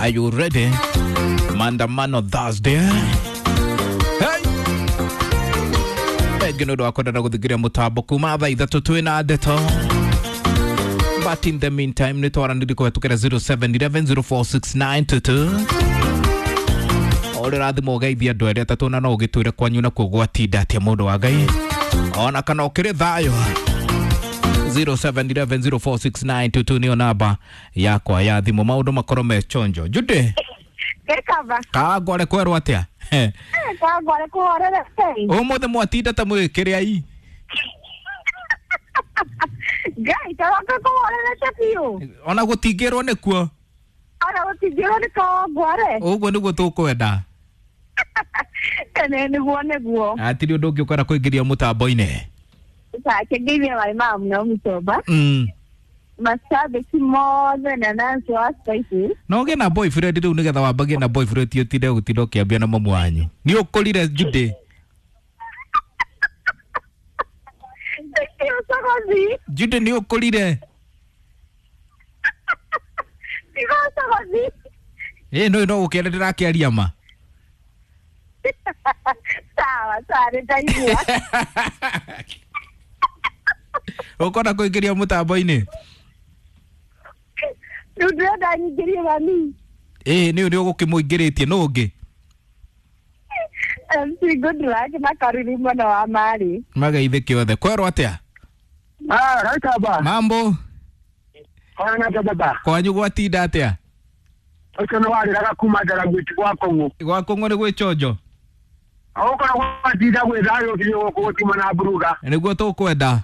Are you ready? Maandamano Thursday. Hey! Thengi nĩ ũndũ wa kwendana gũthikĩrĩria mũtambo kuma thaa ithatũ twĩ na ndeto. But in the meantime nĩ twaranĩrie kũhetũkĩra 0711046922 ũrĩa ũrathimwo ũgeithia andũ erĩ atatũ na no ũgĩtwĩre kwanyu nakuo gwatinda atĩa mũndũ wa Ngai ona kana ũkĩrĩ thayũ. 0711046922 nĩyo namba yakwa ya thimũ maũndũ makorwo me chonjo. Jude Gekaba. kangware kwerwo atĩa? Kangware kũhorere Ngai. Ũmũthĩ mwatinda ta mwĩkĩrĩ ai. Ngai taroka kũhorerete biũ. Ona gũtingĩrwo nĩkuo. Ona gũtingĩrwo nĩ kawangware. Ũguo nĩguo tũkwenda. Tene nĩguo nĩguo. Hatirĩ ũndũ ũngĩ ũkwenda kũingĩria mũtambo-inĩ. Sake ngeithie marĩ ma mũno mũtomba. Mashabiki mothe na Nancy wa Spices. Na ũgĩe na boyfriend rĩu nĩgetha wambagie na boyfriend ti ũtinde gũtinda ũkĩambia na mamu wanyu. Nĩ ũkũrire Jude. Thank you Sogozi. Jude nĩ ũkũrire. Tigo Sogozi. Ĩ no no gũkĩenda ndĩrakĩaria ma. Sawa sawa nĩndaigua. Ũkwenda kũingĩria mũtambo-inĩ? Rĩu ndĩrenda nyingĩrie mami. Ĩ nĩ nĩ ũgũkĩmũingĩrĩtie nũ ũngĩ? MC Goodluck na Karuri mwena wa Mari. Mageithĩke othe. Kwerwo atĩa? Ah, Raikaba. Mambo Ona ta baba. kwanyu gwatinda atĩa? Ũcio nĩ warĩraga kuma Ndaragwĩti gwa Kong'ũ. Gwa Kong'ũ nĩ gwĩ chonjo. Ũkorwo gwatinda gwĩ thayũ biũ gũkũ gũtiuma na mburuga. Nĩguo tũkwenda.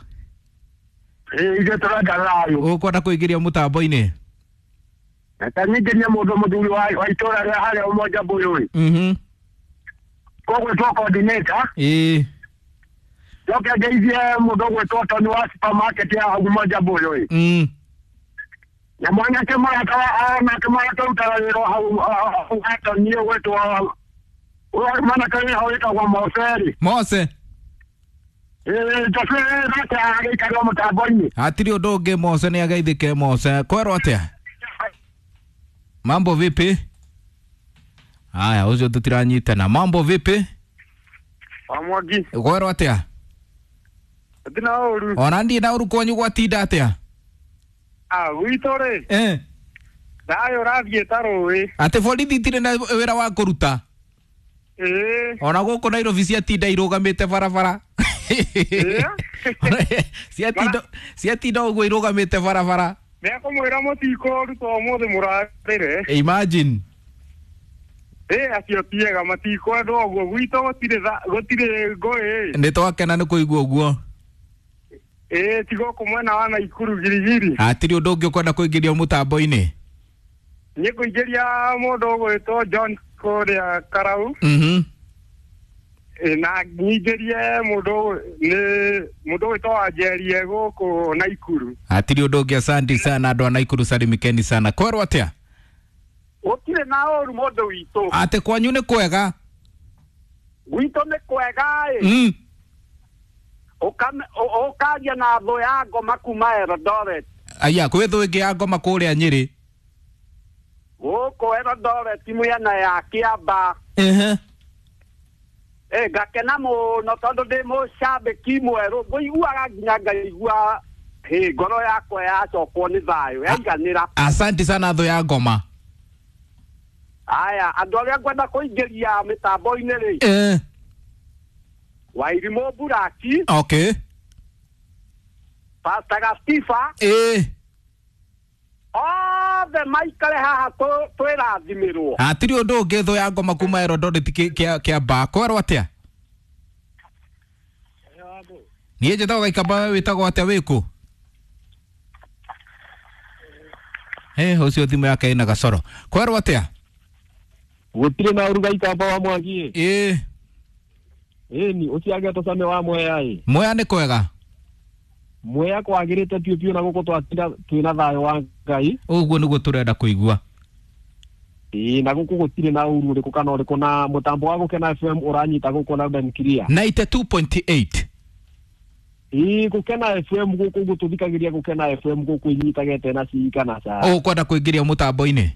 Ĩ ithuĩ tũrenda thayũ. Ũkwenda kũingĩria mũtambo-inĩ? Ta nyingĩrie mũndũ mũthuri wa itũũra rĩa harĩa Umoja Mbũyũ ĩ. Kũgwĩtwo coordinator. Ĩĩ. Njoke ngeithie mũndũ ũgwĩtwo Tony wa supermarket ya hau Umoja Mbũyũ ĩ. Na mwanake mũrata wa nake mwanake ũrutaga wĩra hau hau ha Tony ũgwĩtwo mwanake wĩ hau wĩtagwo Moseri. Mose. Ĩ nake agĩikarwo mũtambo-inĩ. Hatirĩ ũndũ ũngĩ Mose nĩ ageithĩke Mose. Kwerwo atĩa? Mambo vipi? Haya, ũcio tũtiranyitana. Mambo vipi? Wa Mwangi. Kwerwo atĩa? Ndina ũru. Ona ndiĩ na ũru kwanyu gwatinda atĩa? Ah, gwitũ rĩ. Eh. Thayũ ũrathiĩ ta rũĩ. Atĩ borithi itirĩ na wĩra wa kũruta. Ĩĩ. Ona gũkũ Nairobi ciatinda irũgamĩte barabara. Ciatinda ũguo irũgamĩte barabara. Nĩekũmwĩra mũtikũruta ũmũthĩ mũrarĩre. Imagine. Ĩ acio tiega matikwendwo ũguo gwitũ gũtirĩ gũtirĩ ngũĩ. Nĩ twakena nĩ kũigua ũguo. Ĩ ti gũkũ mwena wa Naikuru girigiri. Hatirĩ ũndũ ũngĩ ũkwenda kũingĩria mũtambo-inĩ. Niĩ ngũingĩria mũndũ ũgwĩtwo John kũrĩa Karau. Na nyingĩrie mũndũ nĩ mũndũ ũgwĩtwo Wanjerie gũkũ Naikuru. Hatirĩ ũndũ ũngĩ, asante sana andũ a Naikuru, salimikeni sana. Kwerwo atĩa? Gũtirĩ na ũru mũndũ witũ. Atĩ kwanyu nĩ kwega? Gwitũ nĩ kwega ĩ. Ũkaria na thũ ya ngoma kuma Eldoret. Aya, kwĩ thũ ĩngĩ ya ngoma kũrĩa Nyĩrĩ. Gũkũ Eldoret mĩena ya Kĩamba. Ĩ ngakena mũno tondũ ndĩ mũcambĩki mwerũ ngũiguaga nginya ngaigua hĩ ngoro yakwa yacokwo nĩ thayũ yaiganĩra. Asante sana thũ ya ngoma. Aya, andũ arĩa ngwenda kũingĩria mĩtambo-inĩ rĩ. Wairimũ Buraki. Okay. Pastor Gastifa. Othe maikare haha twĩrathimĩrwo. Hatirĩ ũndũ ũngĩ thũ ya ngoma kuma Eldoret Kĩamba. Kwerwo atĩa? Niĩ njĩtagwo Gaikamba, we wĩtagwo atĩa wĩkũ? Ũcio thimũ yake ĩna gacoro. Kwerwo atĩa? Gũtirĩ na ũru Gaikamba wa Mwangi. Ĩ. Ĩni ũcio agĩtwo Same wa Mwea ĩ. Mwea nĩ kwega? Mwea kwagĩrĩte biũ biũ na gũkũ twatinda twĩna thayũ wa Ngai. Ũguo nĩguo tũrenda kũigua. Ĩĩ na gũkũ gũtirĩ na ũru ũrĩkũ kana ũrĩkũ na mũtambo wa Gũkena FM ũranyita gũkũ loud and clear. 92.8. Ĩĩ Gũkena FM gũkũ ũguo tũthikagĩria Gũkena FM gũkũ inyitagete na cii kana ca. Ũkwenda kũingĩria mũtambo-inĩ?